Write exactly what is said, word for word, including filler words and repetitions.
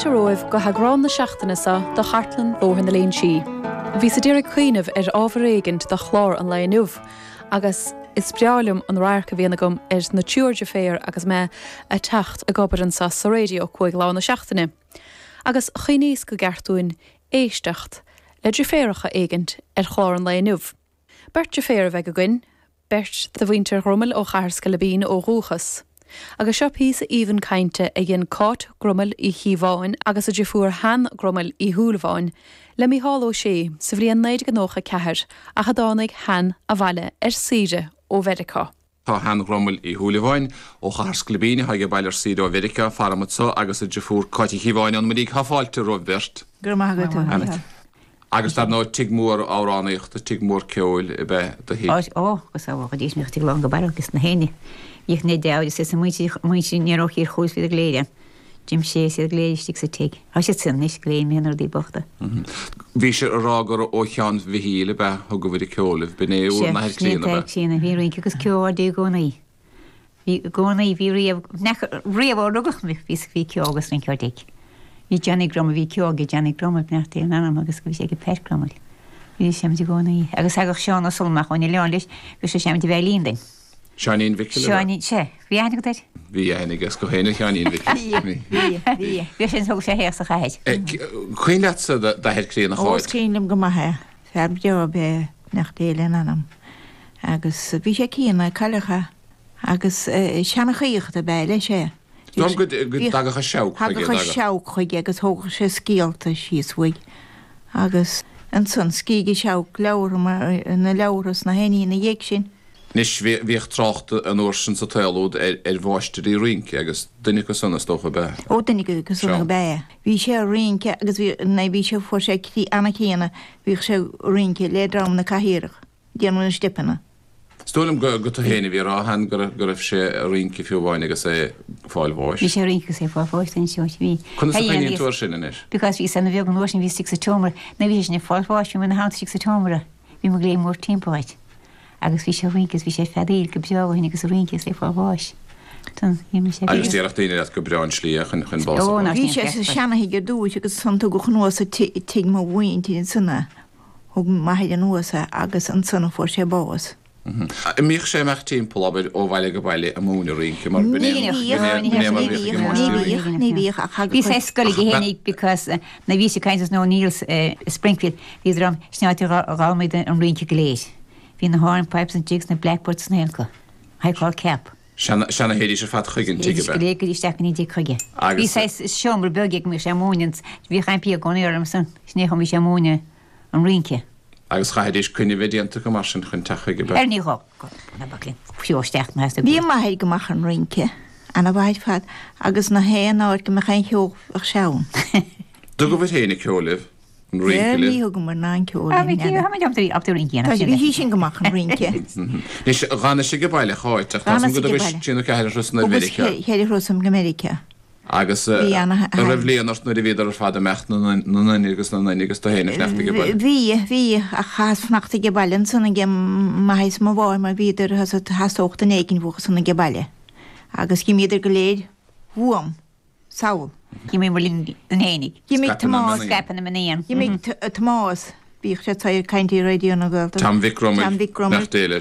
fáilte romhaibh go heagrán na seachtaine seo de Chartlann Bhóthar na Léinsí. Bhíos ag iarraidh cuimhneamh ar ábhar éigin do chlár an lae inniu, agus is breá liom an radharc a bhíonn agam ar na triúr deirféar agus mé ag teacht ag obair anseo sa raidió cúig lá na seachtaine. Agus chuimhníos gur cheart dúinn éisteacht le deirféaracha éigint ar chlár an lae inniu. Beirt deirféar a bheidh againn, beirt de mhuintir Ghrumail ó Chathair Sceilibín ó dhúchas. Agus seo píosa aoibhinn cainte a dhein Cáit Grumail Uí Chíobháin agus a deirfiúr Han Grumail Uí Shúilleabháin le Mícheál Ó Sé sa bhliain naoi déag nócha ceathair ach a dtáinig Han abhaile ar saoire ó Mheiriceá. Tá Han Ghrumail Uí Shúilleabháin ó Chathair Sceilibín a tháinig abhaile ar saoire ó Mheiriceá faram seo agus a deirfiúr Cáit Uí Chíobháin an muirígh tá fáilte romhaibh beirt. Gur maith agat. Agus dar ndóigh tigh mór amhránaíochta tigh mór ceoil ab ea do thigh. Ó agus á dís mé tig lá go bar agus na héine. Bhíodh na deabhair is muintir muintir ní ó thír chuas bhí go léir. Jim sé siad go léir istigh sa tigh. Tá siad sin anois go léir mé rudaí bochta. Bhí sé ag rá gur ó Sheán Mhichíl ab ea thugabhair an ceol libh b'in é bhur n-athair críonna ab ea. Críonna bhí rince agus ceol i gcónaí. Bhí gcónaí bhí riamh riamh ó rugadh mé bhí bhí ceol agus rince á dtigh. Bhí Johnny Grummel bhí ceol ag Johnny Grummel beannacht Dé lena anam agus bhí sé ag Pat Grummel. Bhí sé i gcónaí agus thagadh Seán Ó Sulmach ón oileán leis bhí sé seinnt veidhlín dúinn. Seáinín Mhicil Seáinín sé bhí aithne agat air? Bhí aithne aige go héine Sheáinín Mhicil. Bhí bhí bhí sin thug sé théach sa chathair. Cuimhin leatsa d'athair críonna Ó is cuimhin liom go maith é fear breá ab ea é beannacht Dé lena anam agus bhí sé críonna cailleadh é agus seanchaíocht ab ea leis é. Dom go dtagadh an seabhac chuige. Thagadh an seabhac chuige agus thógadh sé scéalta síos uaidh agus ansan scrígh an seabhac leabhartha na leabhartha sna héiní ina dhiaidh sin. Anois bhíodh trácht an uair sin sa tsaol úd ar ar mháistirí rince agus duine acu san is dócha ab ea. Ó duine acu san ab ea é. Bhí sé ag rince agus bhí nó bhí sé fuair sé croí an-chríonna bhíodh sé ag rince le dream na cathaoireach déanamh na steipeanna. Is dóigh liom go go tú féin a bhí ag rá a Han go raibh go raibh sé ag rince fiú amháin agus é ag fáil bháis. Bhí sé ag rince agus é ag fáil bháis den seoid bhí. Conas a chuimhníonn tú air sin anois? Because bhíos ana bheag an uair sin bhíos istigh sa tseomra nuair a bhí sé sin ag fáil bháis bhí mé ina theannta istigh sa tseomra bhí mo ghléim mór timpeall air agus bhí sé ag rince agus bhí sé ag feadaíl go breá ó shin agus ag rince agus é ag fáil bháis. Don bhí mé sé Agus déarfadh daoine leat gur breá an slí é chun chun bás a Ó fháil. ná Bhí sin sé sa ceart. seana-thigh ar dtúis agus ansan tugadh anuas tigh mo mhuintir ansan é. Thug m'athair anuas é agus ansan a fuair sé bás. An mbíodh sé ag imeacht timpeall, abair, ó bhaile go baile ag múineadh rince mar b'in é Ní b'in é b'in é mar a bhíodh ag an Ní máistir rince. bhíodh, ní bhíodh ach Bhí thagadh sé scoil aige fhéinig because nuair a bhí sé ag caint as O'Neill's i Springfield bhí dream sin áit a d'fhoghlaim an rince go léir. Bhí na hornpipes an jigs na blackbirds na haon acu. High call cap. Seana seana théidís ar fad chuig an tigh Théidís ab go ea? léir go dtí isteach go dtí chuige. Bhí Agus sé seomra beag ag mbíodh sé ag múineadh bhíodh impí i gcónaí orm san sin é chun bhí sé ag múineadh an rince. Agus chaithfidís coinne a bheith déanta acu mar sin chun teacht chuige ab ea? Ar ní dhó na baclainn fiú isteach na Bhí m'athair go maith chun rince, ana-mhaith ar fad, agus na haon áit go mbeadh aon cheol bheadh sé ann. Dtugabhair féin an ceol libh, an rince Ní libh? thugamar ná an ceol Ah, linn, bhí n'fheadar. táimid ábalta ábalta rince a dhéanamh Tá sin bhí de. sí sin go maith chun rince. Anois dh'fhanais age baile a Cháit ach tá Dh'fhanas go age dtugais baile. trí nó ceathair thuras ar Thugas Mheiriceá. ceithre thuras go Meiriceá. Agus Bhí ana an raibh bliain ort nuair a bhíodar ar fad ag imeacht na nduine agus na nduine agus tú féin ag fanacht age baile. Bhí, bhí, ach chaitheas fanacht age baile ansan age m'athair is mo mháthair mar bhíodar theastódh duine éigin uathu san age baile. Agus d'imíodar go léir uaim, sall. D'imigh linn an fhéinig. D'imigh Scaipeadh na Tomás, mionnaí. Scaipeadh na mionnaí. D'imigh Tomás, bhíodh sé ag caint i Raidió na Gaeltachta. Tom Mhic Grumail, Tom Mhic Grumail. nach dté leis.